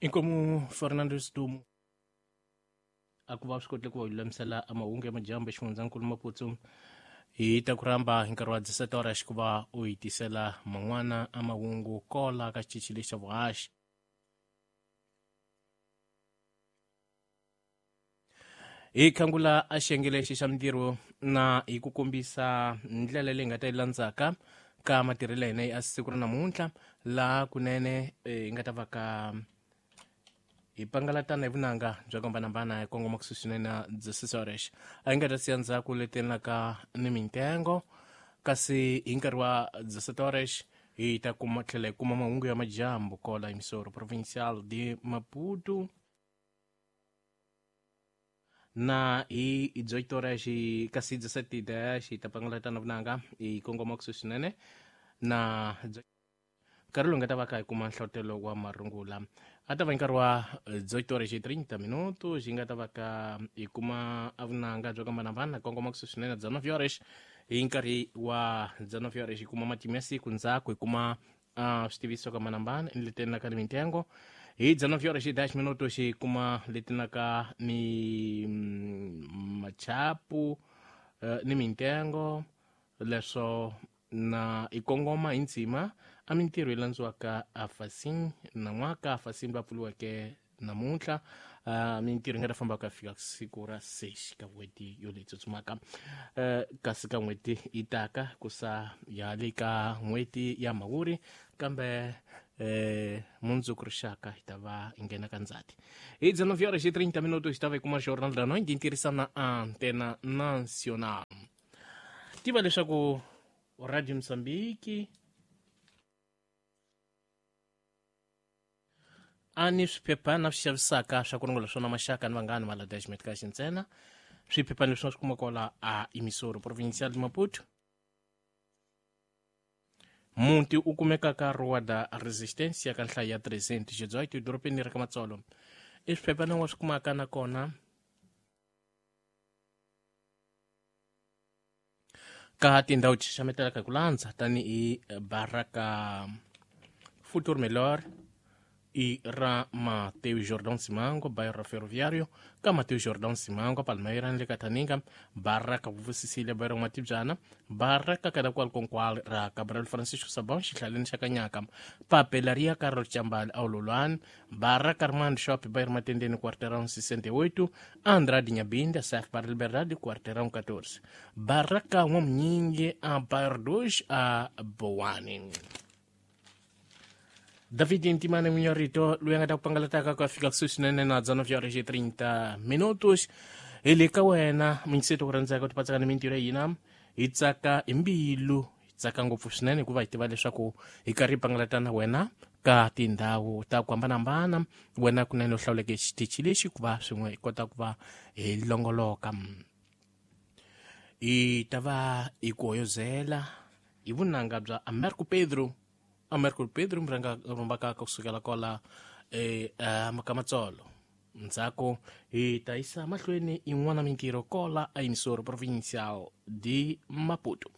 Inkomu Fernando Stumo a ku va swi kotile ku va lulamisela amahungu ya majambu exifundzankulu Maputo hi ta ku rhamba hi nkarhi wa 17 horas ku va u hi tisela man'wana amahungu kola ka xitichi lexi xa vuhaxi. Hi khangula a xiyenge lexi xa mintirho na hi ku kombisa ndlela leyi nga ta yi landzaka ka matirhelo ya hina ya siku ra namuntlha, laha kunene hi nga ta va ka hi pangalatana hi vunanga bya ku hambanahambana hi kongoma kusuhi swinene na 16 horas. A hi nga ta siya ndzhaku leti endlaka ni mintengo, kasi hi nkarhi wa 17 horas hi ta kuma tlhela hi kuma mahungu ya majambu kola emissora provincial de Maputo, na hi 18 horas, kasi 17 hi ta pangalatana vunanga hi kongoma kusuhi swinene na nkarhi lowu nga ta va ka hi kuma nhlotelo wa marungula. A ta va nkarhi wa 18 horas 30 minutos hi nga ta va ka hi kuma vunanga byo hambanahambana kongoma kusuhi swinene na 19 horas. Hi nkarhi wa 19 horas hi kuma matimu ya siku, ndzhaku hi kuma switiviso ku hambanahambana ni leti endlaka ni mintengo. Hi 19 horas 10 minutos hi kuma leti endlaka ni machapu ni mintengo leswo, na hi kongoma hi ndzima a mintirho yi landziwaka a fasin nan'waka. Fasin va pfuriweke namuntlha, mintirho yi nga ta famba ka fika siku ra 6 ka n'hweti yo leyi tsutsumaka, kasi ka n'hweti yi taka ku sa ya le ka n'hweti ya Mhawuri, kambe mundzuku rixaka hi ta va hi nghena ka Ndzati. Hi 19 horas 30 minutos hi ta va hi kuma Jornal da Noite hi tirhisana Antena Nacional. Tiva leswaku Radio Mozambique a ni swiphephana swi xavisaka swa ku rungula swona maxaka ni vanghani malada ya ximetikaxi ntsena. Swiphephana leswi nga swi kuma kwala a emissora provincial de Maputo, muti u kumeka ka Rua da Resistência ka nhlayo ya 318 edorobeni ra ka Matsolo. I swiphephana wa swi kumaka nakona ka tindhawu ti xaxametelaka hi ku landza tanihi Baraka Futuro Melhor i ra Mateo Jordan Simango, bairro Ferroviário, ka Mateo Jordan Simango, Palmeira ni le ka Taninga, Baraka Vuvusisile, bairro Matibyana, Baraka kada kwalkonkwal ra Gabriel Francisco Sabon, xihlaleni xa Kanyaka, Papelaria Carlos Chambali Aululwan, Baraka Armando Shop, bairro Matendeni, quarteirão 68, Andrade Nyabinda, Saf Bar Liberdade, quarteirão 14, Baraka N'wamunyingi a bairro 2 a Bowane. David Ntimane Munyorito loyi a nga ta ku pangalataka ku ya fika kusuhi swinene na 19 horas 30 minutos. Hi le ka wena minyiseto ku rhandzaka ku tipatsaka ni mintirho ya hina. Hi tsaka hi mbilu, hi tsaka ngopfu swinene hikuva hi tiva leswaku hi karhi hi pangalatana wena ka tindhawu ta ku hambanahambana, wena kunene u hlawuleke xitichi lexi ku va swin'we hi kota ku va hi longoloka. Hi ta va hi ku hoyozela hi vunanga bya Americo Pedro. Americo Pedro murhanga rhumbaka kusukela kwala ka Matsolo. Ndzhaku hi ta yisa mahlweni yin'wana mintirho kola a emissora provincial de Maputo.